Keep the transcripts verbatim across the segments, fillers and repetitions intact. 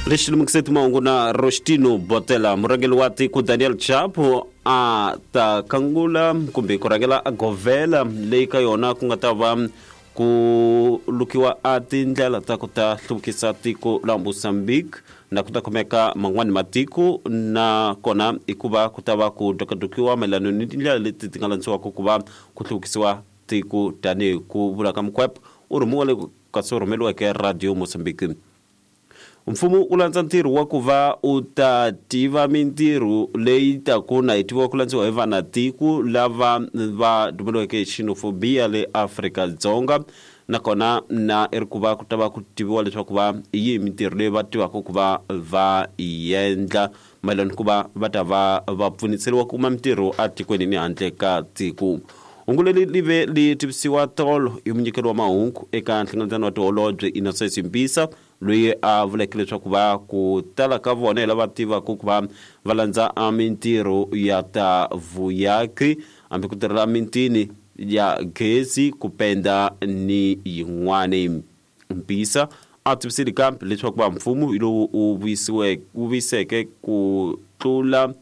Lexi lemukiseti mahungu na Rostino Botela. Murhangeri wa tiko Daniel Chapo a ta kangula kumbe ku rhangela a govela leyi ka yona ku nga ta va ku lukiwa a tindlela ta ku ta hluvukisa tiko la Mozambique na ku ta khomeka man'wani matiko, na kona i ku va ku ta va ku dokadokiwa mayelana ni tindlela leti ti nga landziwaka ku va ku hluvukisiwa tiko. Tanihi ku vula ka Mukwep u rhumiwa le kasi u rhumeriweke Radio Mozambique. Mfumo wu landza ntirho wa ku va u ta tiva mintirho leyi taku na yi tiviwa ku landziwa hi vanatiko lava va dumeliweke hi xenophobia le Afrika-Dzonga, nakona na i ri ku va ku ta va ku tiviwa leswaku va hi yihi mintirho leyi va tivaka ku va va yi endla mayelana ku va va ta va va pfuniseriwa ku kuma mintirho etikweni ni handle ka tiko. Hungu leri li ve li tivisiwa tolo hi munyikeri wa mahungu eka nhlengeletano wa tiholobye Innocent Mpisa, loyi a vuleke leswaku va ku tala ka vona hi lava tivaka ku va va landza mintirho ya ta vuyaki, hambi ku tirhela mitini ya gezi, ku penda ni yin'wani. Mpisa a tivisile kambe leswaku va mfumo hi lowu wu vuyisiweke wu vuyiseke ku tlula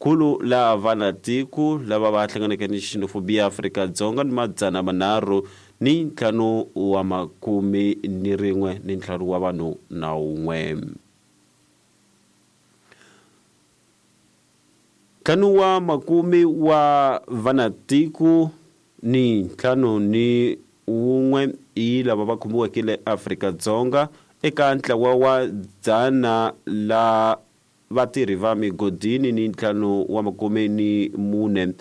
khulu la vanatiko lava va hlanganeke ni xenophobia Afrika-Dzonga ni madzana manharhu ni ntlhanu wa makume ni rin'we ni ntlhanu wa vanhu na wun'we. Ntlhanu wa makume wa vanatiko ni ntlhanu ni wun'we hi lava va khomiweke le Afrika-Dzonga eka ntlawa wa dzana la vatirhi va migodini ni ntlhanu wa makume ni mune